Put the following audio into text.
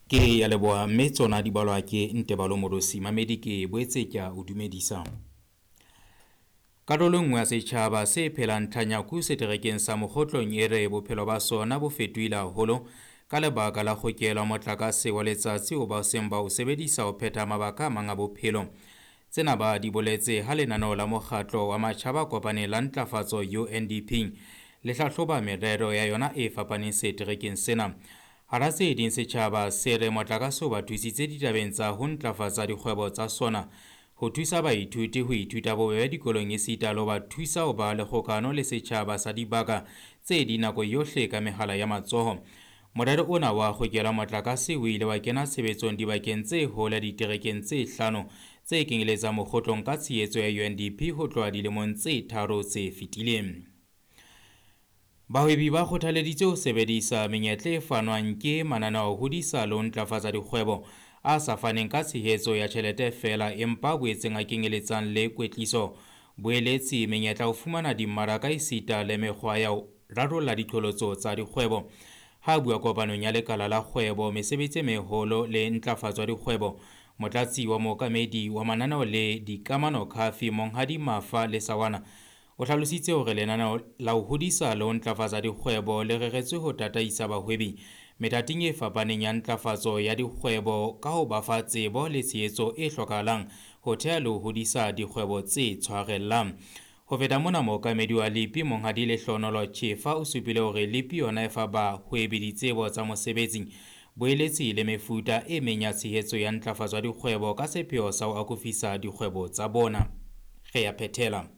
Ke ya leboha mme tsona di balwa ke Ntebalo Modosi. Mamedi ke boetse ke a o dumedisa. Karolo e nngwe ya setjhaba se phelang Tlhanyaku seterekeng sa Mokgotlong e re bophelo ba sona bo fetohile haholo ka lebaka la kgokelo ya motlakase wa letsatsi o ba seng ba o sebedisa ho phetha mabaka a mang a bophelo. Tsena ba di boletse ha lenaneo la mokgatlo wa matjhaba a kopaneng la ntlafatso UNDP le hlahloba merero ya yona e fapaneng seterekeng sena. Hara tse ding setjhaba se re motlakase o ba thusitse ditabeng tsa ho ntlafatsa dikgwebo tsa sona, ho thusa baithuti ho ithuta bobebe dikolong esita le ho ba thusa ho ba le kgokano le setjhaba sa dibaka tse ding nako yohle ka mehala ya matsoho. Morero ona wa kgokelo motlakase o ile wa kena tshebetsong dibakeng tse hole diterekeng tse hlano tse kenyeletsang Mokgotlong ka tshehetso ya UNDP ho tloha dilemong tse tharo tse fetileng. Bahwebi ba kgothaleditswe ho sebedisa menyetla e fanwang ke mananeo a ho hodisa le ho ntlafatsa dikgwebo a sa faneng ka tshehetso ya tjhelete feela empa a boetseng a kenyeletsang le kwetliso, boeletsi, menyetla ya ho fumana dimmaraka esita le mekgwa ya ho rarolla diqholotso tsa dikgwebo. Ha a bua kopanong ya lekala la kgwebo, mesebetsi e meholo le ntlafatso ya dikgwebo, motlatsi wa mookamedi wa mananeo le dikamano Khafi Monghadi Mafa Lesawana o hlalositse hore lenaneo la ho hodisa le ho ntlafatsa dikgwebo le reretswe ho tataisa bahwebi methating e fapaneng ya ntlafatso ya dikgwebo ka ho ba fa tsebo le tshehetso e hlokahalang ho theha le ho hodisa dikgwebo tse tshwarellang. Ho feta mona, mookamedi wa LEP Monghadi Lehlohonolo Chefa o supile hore LEP yona e fa bahwebi ditsebo tsa mosebetsi, boeletsi le mefuta e meng ya tshehetso ya ntlafatso ya dikgwebo ka sepheo sa ho akofisa dikgwebo tsa bona. Re ya phethela.